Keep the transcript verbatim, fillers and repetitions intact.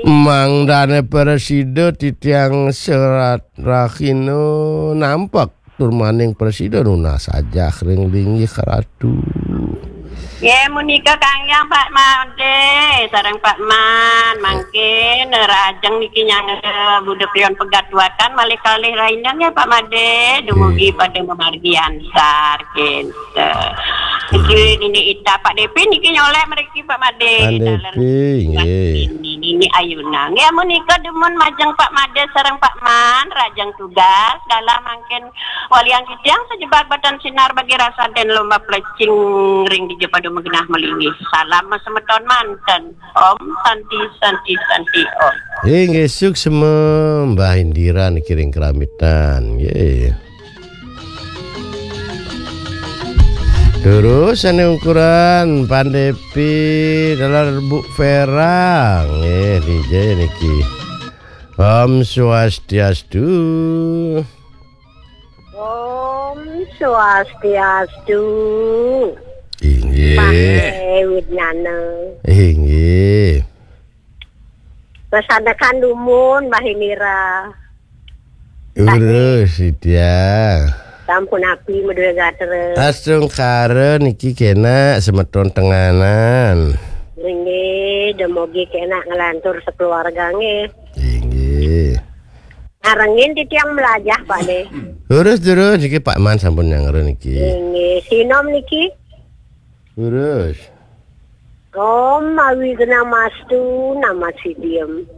Mangdane prasida titiang serat rahina nampek tur maning prasida nunas ajah ring linggih Ratu. Nggih, menika Kang Yang, Pak Made, sareng Pak Man, mangkin rajeng niki nyangga Buda Prion Pegatuakan malih kalih rahina nggih Pak Made, dumugi pada mamargi ansar, kinten. Niki Nini Ita, Pak Depi niki nyolek mriki Pak Made. Pak Depi, nggih. Nini Ayuna. Nggih, menika dumun majeng Pak Made sareng Pak Man, rajeng tugas, dalam mangkin walian titiang sajebag batan sinar bagi rasa den lomba plecing ring dija pada magenah malinggih. Salam semeton manten. Om Santi, Santi, Santi, Om. Inggih, suksma Mbah Indira niki ring Kramitan. Nggih. Terus ane ukuran Pandepi dalar Bu Vera. Nggih, dija niki. Om Swastiastu. Om Swastiastu. Inggih. Pak Widnana. Inggih. Pesanekan dumun, Mbah Indira. Urus, Sitya. Sampun api madue gatra. Astungkara niki kena semeton tenganan. Inggih, demogi kena ngelantur sekeluarga nggih. Inggih. Ngarengin titiang melajah, Pak, nggih. Terus, terus, niki Pak Man sampun nyanggra niki. Inggih, sinom niki. Terus. Om Awighnamastu Namasidham.